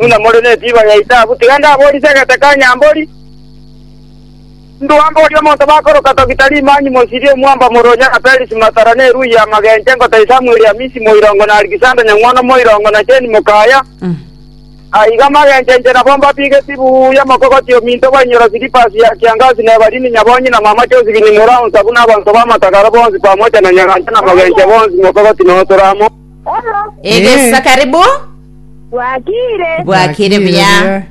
Buna more netiba ya itabu, tiga ndaborie segete ka nyambori. Ndua mborie omonto bakoroka Togita Rimanyi Mosiri Omwamba Moronya na Felisi Matara na Erui ya Magenche Ngotei Samueli Hamisi Moirongo na Alikisanda Nyang'wono Moirongo na Jane Mokaya. Aiga magenche inche nabo mbabigeti buya mokogoti ominto bainyora Silipasi ya Kiangasi na Evalini Nyabonyi na mama Josephine Moraunsa buna abanto b'amatagaro bonsi pamoja na Nyagancha na magenche bonsi mokogoti noo tore amo. Egesa karibu. Bwakire. Bwakire buya.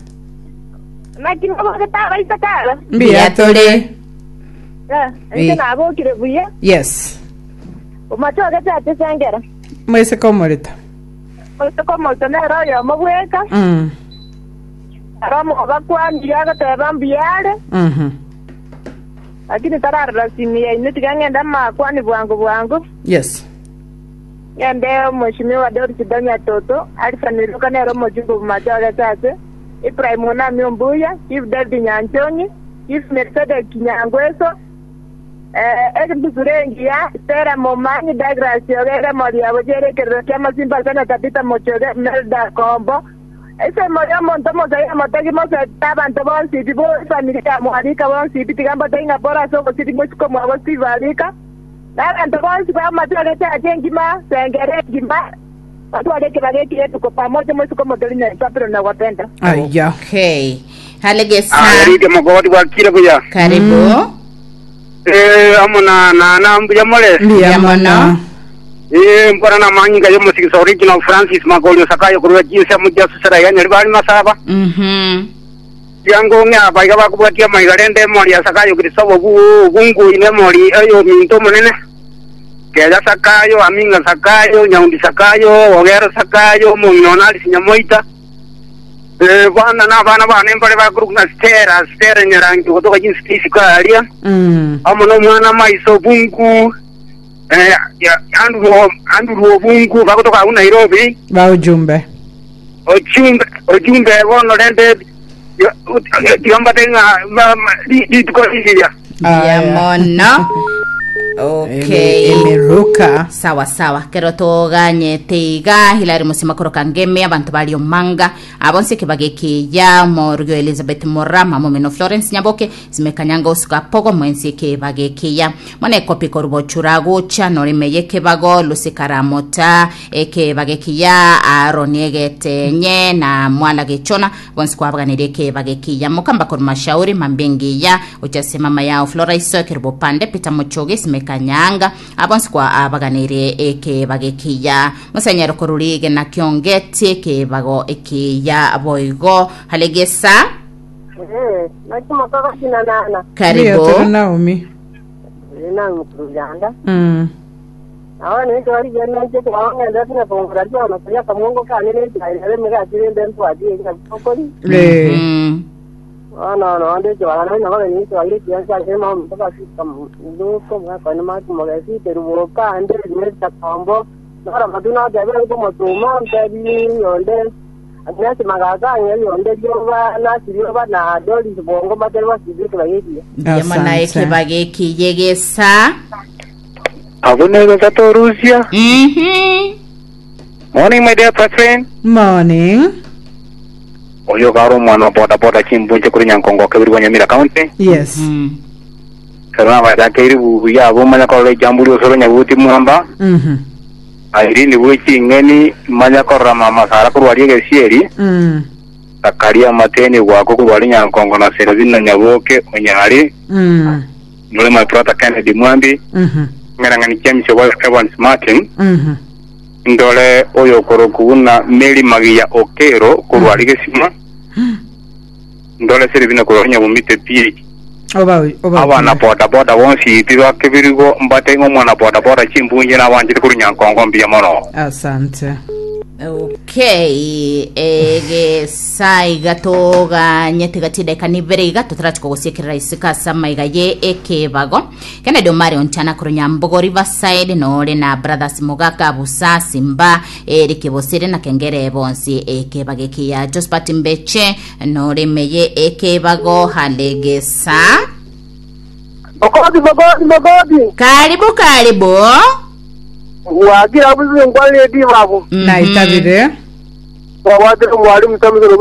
Naki nobogete abaiseke aba? Mbuya tore. Eh, inche Eh. nabokire buya. Yes. Omachoge ate sengera. Moiseke omorito. Moiseke omorito nere oyomo bweka. Mm. Ere omobakwanire agoteba mbuya are. Mhm. Lakini tararora simu yaino tiga ng'ende amakwani bwango bwango. Yes. Ng'ende Omweshimiwa Doris Donya Toto, Alpha Miruka nere omojumbe bw'Machoge ase, Ibrahim Onami Ombuya, Chief David Nyanchong'i, Chief Melkisedeki Nyangweso, Embusuro engiya, Stella Momanyi, Douglas Ogere Moriabo Jere ekerero ki'amasimba ase na Tabitha Mochoge, Melda Kombo, Ensemo y'omonto omosaia omotegi mosete abanto bonsi pi b'efamiri ya Mwarika bonsi pi tiga mbatebie ng'a pore ase obosiri bw'isiko mwabo Steve Arika. Na abanto bonsi b'amachore echache engima, sengera engima, batware ekebago eke rituko pamoja moisiko motori na Isabelo na gwapenda. Aya. Okay. Halegesa. Aya rike mogoti bwakire buya. Karibu. Eh, amo na na na mbuya more. Mbuya Mbuya mono. mono. Eh, mbona na manyinga yo musigisa original Francis Magolio Sakayo kurwa jinsi ya muja susera ya nyari bali masaba. Mhm. Tiango ng'a abaiga bakobwatia amaiga rende emori ya Sakayo Kristo obu obungu ine emori ey'ominto omonene. Keya Sakayo, Aminga Sakayo, Nyaundi Sakayo, Ogero Sakayo, omong'ina one Alice Nyamoita. Eh, bana na abana bane mbare bakorokwa ng'a Stella, Stella Nyarangi gotoka chinse isiko aria. Mm. Amo nomwana Maiso Obungu, eh, ya- Andrew, Andrew Obungu bagotoka agwo Nairobi. Ba ujumbe. Ojumbe, ojumbe bono rende tiga mbate ng'a ma- ma- ri- rituko riria. Mbuya Aya. mono. Okay. Eme- Emeruka. sawa sawa kero toganyete iga hilari musima koroka ngeme abanto bari omanga abonse kebage kiya morugio elizabeth mora mamomino florence nyaboke simekanyanga osuka pogo mwensi kebage kiya mone kopi korubochura gocha norime kebago lusikaramota Ekebago ekiya Aroni egetenye, na mwala gechona, bonsi kwabaganirie ekebago ekiya. Mokamba korwa Mashauri, mambia engiya, gochia ase mama yao Flora Iso, Ekerubo Pande, Peter Mochogi, Simeka Nyaanga, aba bonsi kwabaganirie ekebago ekiya. Mosenyero korwa rigena Kiongeti, ekebago ekiya boigo. Halegesa. Eh, naki mokogochina nana. Mbuya Karibu. tore Naomi. Naomi korwa Uganda. Mm. Nabo ninche barigia ninche ekero ng'endete na kongora ribono koria akamongo kane ne echae nere emegati rende ntwatie eria tokori. Eh. Mm. Bono nonde ekebara nonye nabo ninche baria ekiancha ase maomi tobasika nduko omwaka one mati mogesi kerubo kande Mr. Kombo noro matu notebire nkomotuma ntebi yonde Agnes Magaka ang'e yonde rioba nasi rioba na Doris Bongo mbatere basibe ekebago ekiya. Mbuya mono Asante. ekebago ekiya egesa. Abwo nigo tatorusia. Mhm. Morning my dear friend. Morning. Oyo kare omwana wa boda boda chimbunche kuri Nyankongo kebiri bwa Nyamira County. Yes. Mm. Kero nabachake ribubu yabo manya korora ejambo riosoro nyabuti mwamba. Mhm. Irene bwe ching'eni manya korora mama Sara korwa aria egesieri. Mm. Zakaria amateni gwako korwa aria Nyankongo na Serabini na Nyaboke Onyari. Mm. Nore my brother Kennedy Mwambi. Mhm. Ng'erang'ani James obo Evans Martin. Mhm. Ndore oyokorokwa buna Mary Magiya Okero korwa aria Gesima. Ndore Serabini korwa aria Nyabomite PH. Oba oba. Abana boda boda bonsi pi bakebirigo mbate ng'a omwana boda boda chimbunche nabanchete korwa Nyankongo mbuya mono. Asante. Okay, egesa iga toganyete gati dakika nibere iga totarachi kogosiekerera isiko ase amaiga ye ekebago Kennedy Omari Onchana korwa Nyambogo Riverside nore na Brothers Mogaka Busa Simba Eric Bosire na Kengere bonsi ekebago ekiya Josephat Mbeche Nore meye ekebago halegesa. Mogodi, mogodi, mogodi. Karibu karibu. Wagira buzi ngwa lady babu. Naitabire. Twabwatire omwalimu Samson.